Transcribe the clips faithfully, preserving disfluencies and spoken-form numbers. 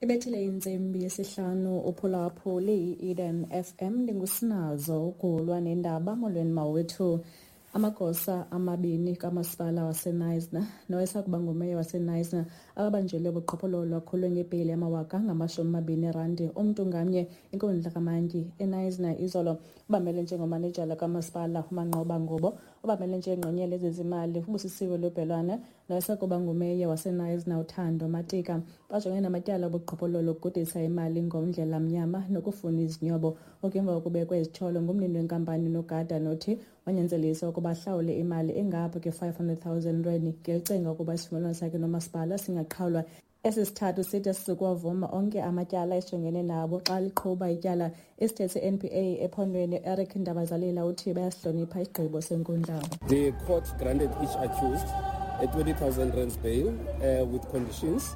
Ibethile intsimbi yesihlanu uphulaphuli i-Eden F M ndingusinazo ugulwa nendaba. Molweni mawethu. Amagosa amabini kamasipala waseKnysna nowayesakuba ngumeya waseKnysna ababanjelwe ubuqhophololo akhulwe ngebheyile yamawaka ngamashumi amabini erandi umntu ngamnye inkundla kamantyi eKnysna izolo. Ubamele njengomanejala kamasipala uManqoba Ngubo, ubamele njengengqonyela yezezimali uBusisiwe Lubhelwana nowayesakuba ngumeya waseKnysna uThando Matika. Bajongene namatyala obuqhophololo ukugudisa imali ngomndlela mnyama nokufuna izinyobo. Oku emva kokubekwa izityholo ngumnini wenkampani nogada nothi wanyanzelisa ukuba ahlawule imali engapha kwe-five hundred thousand rand ngelicinga ukuba isivumelwano sakhe nomasipala singaqhawulwa. Esi sithathu sithi sizokuwavuma onke amatyala esijongene nabo xa liqhuba ityala. Isithethi se-N P A ephondweni Eric Ndabazalila uthi bayasihlonipha isigqibo senkundla. The court granted each accused a twenty thousand rand bail, uh, with conditions,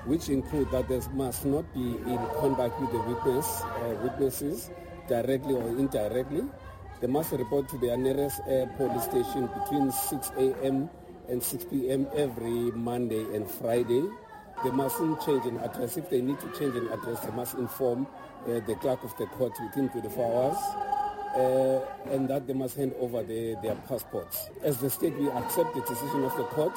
which include that there must not be in contact with the witness, uh, witnesses directly or indirectly. They must report to their nearest, uh, police station between six A M and six P M every Monday and Friday. They mustn't change an address. If they need to change an address, they must inform, uh, the clerk of the court within twenty-four hours, uh, and that they must hand over the, their passports. As the state, we accept the decision of the court.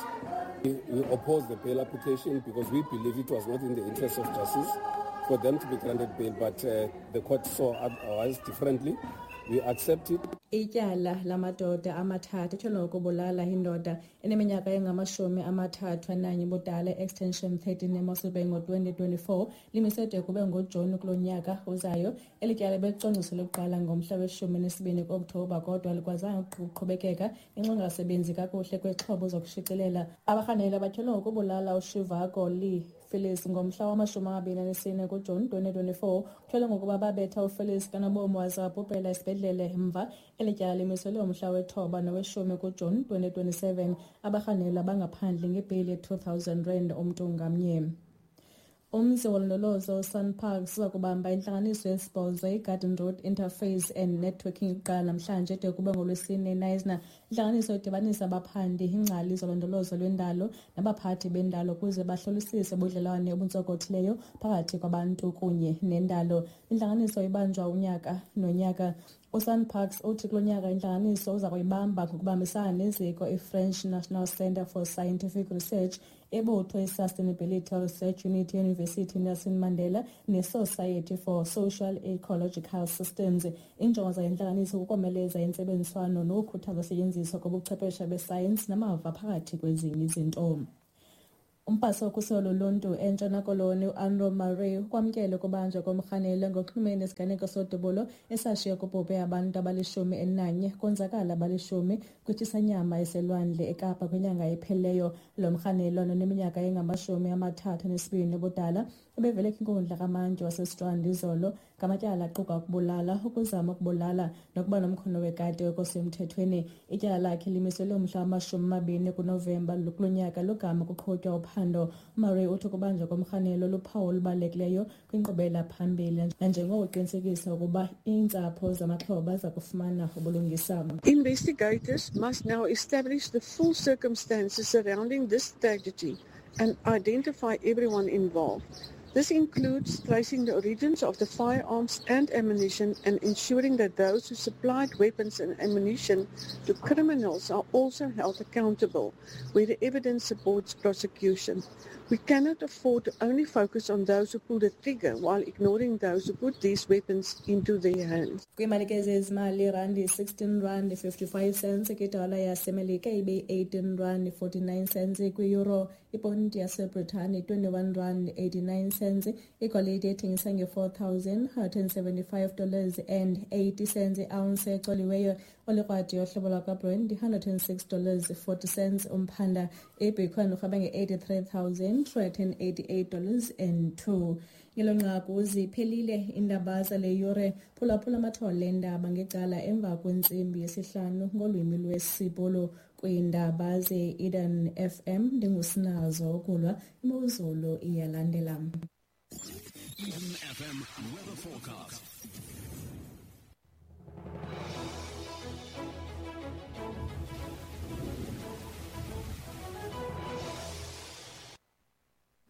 We, we oppose the bail application because we believe it was not in the interest of justice for them to be granted bail, but, uh, the court saw otherwise differently. We accept it. Ityala lamadoda amathathu etyholwa ngokubulala indoda eneminyaka engamashumi amathathu ananye ubudala e-Extension thirteen eMossel Bay ngo-twenty twenty-four limise de kube ngoJuni kulo nyaka uzayo. Eli tyala belicwangciselwe ukuqala ngomhla weshumi nesibini ku-Okthobha kodwa alikwazanga ukuqhubekeka ngenxa yokungasebenzi kakuhle kwezixhobo zokushicilela. Abarhanelwa batyholwa ngokubulala uShivako Lee Phillips ngomhla wamashumi amabini anesine kuJuni twenty twenty-four. Kutyholwa ngokuba babetha uPhillips kanobomi waze wabhubhela esibhedlele emva. Eli tyala limiselwe umhla wethoba noweshumi kuJuni twenty twenty-seven. Abarhanelwa bangaphandle ngebheyile ye-two thousand rand umntu ngamnye. Umzi wolondolozo SANParks uza kubamba intlanganiso yesibhozo iGarden Road Interface and Networking iqala namhlanje de kube ngolwesine eKnysna. Intlanganiso idibanisa abaphandi, iingcali zolondolozo lwendalo nabaphathi bendalo ukuze bahlolisise ubudlelwane obuntsokothileyo phakathi kwabantu kunye nendalo. Intlanganiso ibanjwa unyaka nonyaka. USANParks uthi kulo nyaka intlanganiso uza kuyibamba ngokubambisana neziko iFrench National Centre for Scientific Research, ibutho i-Sustainability Research Unit yeYunivesithi Nelson Mandela ne-Society for Social Ecological Systems. Injongo zale ntlanganiso kukomeleza intsebenziswano nokukhuthaza usetyenziswa kobuchwepheshe besayensi namava phakathi kwezinye izinto. Umphathi wokhuselo loluntu eNtshona Koloni uAndrew Murray ukwamkele ukubanjwa komrhanelwa ngokuxhumene nesiganeko sodubulo esashiya kubhubhe abantu abalishumi elinanye konzakala abalishumi kwitshisanyama eselwandle eKapa kwinyanga ephelileyo. Lo mrhanelwa noneminyaka engamashumi amathathu anesibini ubudala ubevele kwinkundla kamantyi waseStrand izolo ngamatyala aquka ukubulala, ukuzama ukubulala nokuba nomkhono wekati okosemthethweni. Ityala lakhe limiselwe umhla wamashumi amabini kuNovemba kulo nyaka logama kuqhutywa uphando. UMurray uthi ukubanjwa komrhanelwa luphawu olubalulekileyo kwinkqubela phambili nanjengoko uqinisekisa ukuba iintsapho zamaxhoba ziza kufumana ubulungisa. Investigators must now establish the full circumstances surrounding this tragedy and identify everyone involved. This includes tracing the origins of the firearms and ammunition and ensuring that those who supplied weapons and ammunition to criminals are also held accountable where the evidence supports prosecution. We cannot afford to only focus on those who pull the trigger while ignoring those who put these weapons into their hands. Kwiimali ke zezimali, irandi sixteen rand fifty-five cents, kwidola yaseMelika ibe eighteen rand forty-nine cents, kwi-euro iponti yaseBritane twenty-one rand eighty-nine cents, igolide ethengisa nge-four thousand hundred and seventy-five dollars and eighty cents i-ounce ecoliweyo, olikrwadi yohlobo lwakwaBrent hundred and six dollars forty cents umphanda, iBitcoin urhweba nge-eighty-three thousand three hundred and eighty-eight dollars and two. Ngelo nqaku ziphelile iindaba zale yure. Phulaphula amathole eendaba ngecala emva kwentsimbi yesihlanu ngolwimi lwesiBhulu kwiindaba ze-Eden F M. Ndingusinazo ukulwa imozulu iyalandela. Eden F M weather forecast.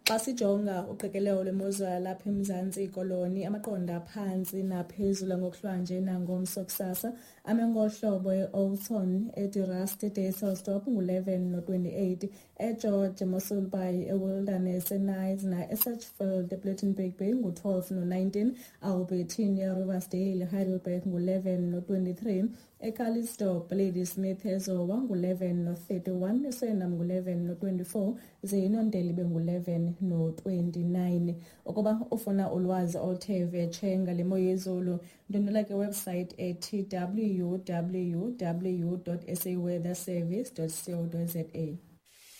Xa sijonga uqikelelo lwemozulu yalapha eMzantsi Koloni, amaqondo aphantsi naphezulu ngokuhlwanje nangomso kusasa ame ngohlobo: e-Oudtshoorn, eDe Rust, eDysselsdorp ngu-eleven no-twenty-eight, eGeorge, eMossel Bay, eWilderness, eKnysna, eSedgefield, ePlettenberg Bay ngu-twelve no-nineteen, Albertina, Riversdale, Heidelberg ngu-eleven no-twenty-three, eCalitzdorp, Ladysmith, eZowa ngu-eleven no-thirty-one, eSuriname ngu-eleven no-twenty-four, ze iNontele ibe ngu-eleven no-twenty-nine. Ukuba ufuna ulwazi oluthe vetshe ngale mo yezulu, ndwendwela ke website ethi w w w dot s a weather service dot co dot za.